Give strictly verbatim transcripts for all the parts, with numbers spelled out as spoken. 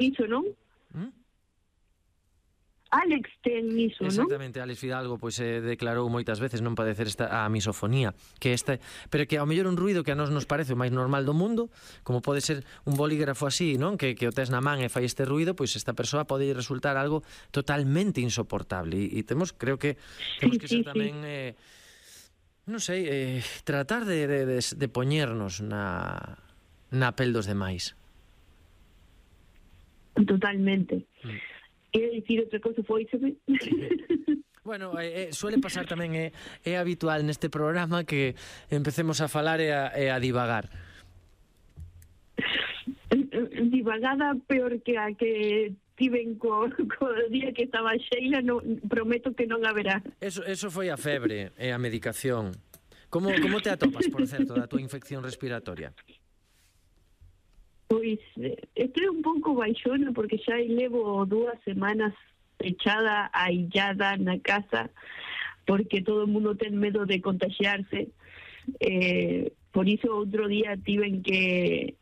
iso, non? ¿Mm? Alex ten iso, non? Exactamente, Alex Fidalgo pois eh, declarou moitas veces non padecer esta a misofonía, que esta, pero que ao mellor un ruido que a nós nos parece o máis normal do mundo, como pode ser un bolígrafo así, non? Que, que o tes na man e fai este ruido, pois esta persoa pode resultar algo totalmente insoportable e, e temos, creo que temos Sí, que ser sí, tamén sí. eh, non sei, eh, tratar de, de, de, de poñernos na na pel dos demais. Totalmente. Mm. E dicir outra cosa foi sobre... Bueno, eh, suele pasar tamén, é, é habitual neste programa que empecemos a falar e a, e a divagar. Divagada peor que a que tiven co, co día que estaba Sheila, no, prometo que non haberá. Eso, eso foi a febre e a medicación. Como, como te atopas, por certo, da tua infección respiratoria? Pois, estou un pouco baixona porque xa levo dúas semanas pechada, aillada na casa, porque todo o mundo ten medo de contagiarse. Eh, por iso outro día tiven que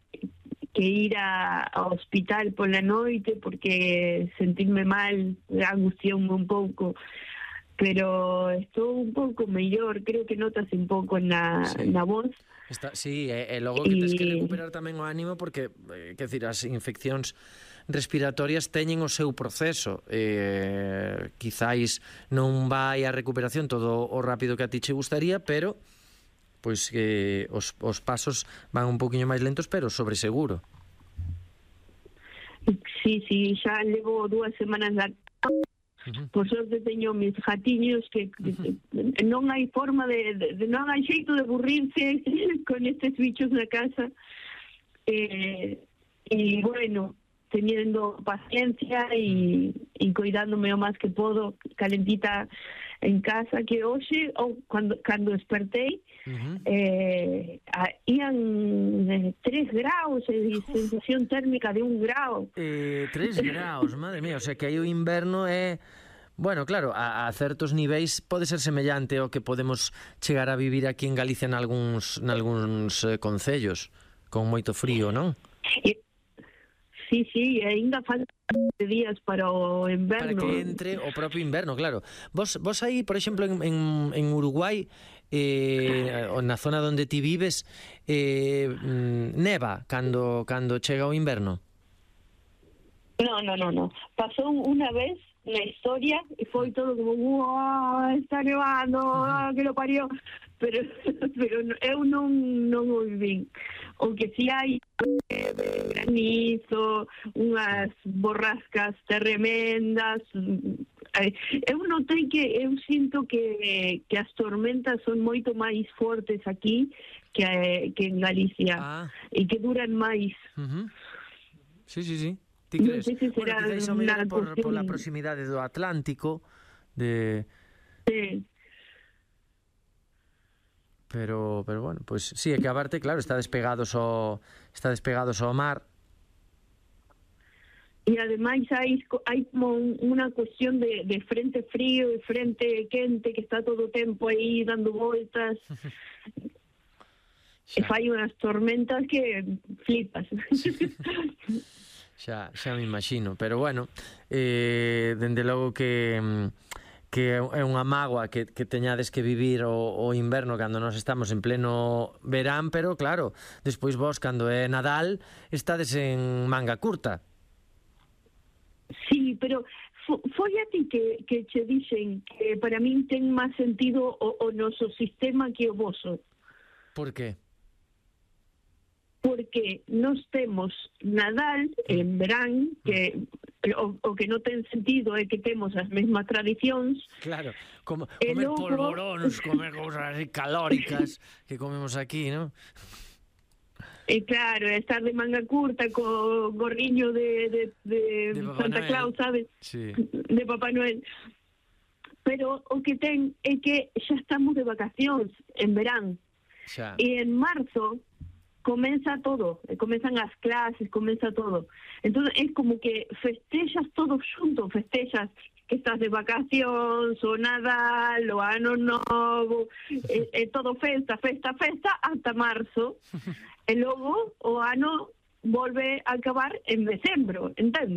que ir a, ao hospital pola noite porque sentirme mal, angustioume un pouco, pero estou un pouco mellor, creo que notas un pouco na, Sí. na voz. Está, sí, e, e logo que tens que Y- recuperar tamén o ánimo porque, eh, quer decir, as infeccións respiratorias teñen o seu proceso. Eh, quizáis non vai a recuperación todo o rápido que a ti che gustaría, pero pois que os, os pasos van un poquinho máis lentos, pero sobre seguro. Sí, sí, xa levo dúas semanas na... Uh-huh. Por sorte teño mis gatiños que, que, que non hai forma de, de, de non hai xeito de aburrirse con estes bichos na casa. Eh, e bueno, teniendo paciencia e, e cuidándome o máis que podo, calentita en casa, que hoxe, ou cando, cando despertei, Uh-huh. eh, a, ian eh, tres graus e sensación térmica de un grau. Eh, tres graus, madre mía, o sea que aí o inverno é... Bueno, claro, a, a certos niveis pode ser semellante ao que podemos chegar a vivir aquí en Galicia nalgúns, nalgúns eh, concellos, con moito frío, non? E, sí, sí, ainda falta días para o inverno. Para que entre o propio inverno, claro. Vos, vos aí, por exemplo, en, en, en Uruguai, eh, na zona onde ti vives, eh, neva cando, cando chega o inverno? No, no, no, no. Pasó una vez na historia e foi todo como, wow, está nevando, ah, que lo parió. Pero, pero eu non, non o vivín. O que si hai eh, granizo, unhas borrascas tremendas. Eu notei que eu sinto que, que as tormentas son moito máis fortes aquí que, que en Galicia, Ah. e que duran máis. Uh-huh. Sí, sí, sí. Ti Non crees? sei se será Bueno, quizáis ao mellor unha por, cuestión- por la proximidade do Atlántico, de... Sí. Pero, pero bueno, pues sí, é que aparte, claro, está despegados ao, está despegados ao mar. E ademais hai, hai como un, unha cuestión de, de frente frío e frente quente que está todo o tempo aí dando voltas. E fai unhas tormentas que flipas. Xa, xa me imagino, pero bueno, eh, dende logo que que é unha mágoa que, que teñades que vivir o, o inverno cando nos estamos en pleno verán, pero claro, despois vos cando é Nadal estades en manga curta. Sí, pero fo, foi a ti que, que che dixen que para min ten máis sentido o, o noso sistema que o voso. Por qué? Porque nos temos Nadal en verán, que o, o que non ten sentido é que temos as mesmas tradicións. Claro, como, E comer logo- polvoróns, comer cousas así calóricas que comemos aquí, ¿no? E claro, estar de manga curta co gorriño de, de, de, De Papá Santa Noel. Claus, sabes? Sí. De Papá Noel. Pero o que ten é que xa estamos de vacacións en verán. Xa. E en marzo comeza todo, comezan as clases, comeza todo. Entón é como que festexas todo xunto, festexas que estás de vacacións, o Nadal, o Ano Novo, é, é todo festa, festa, festa, ata marzo. E logo o ano volve a acabar en decembro, entende?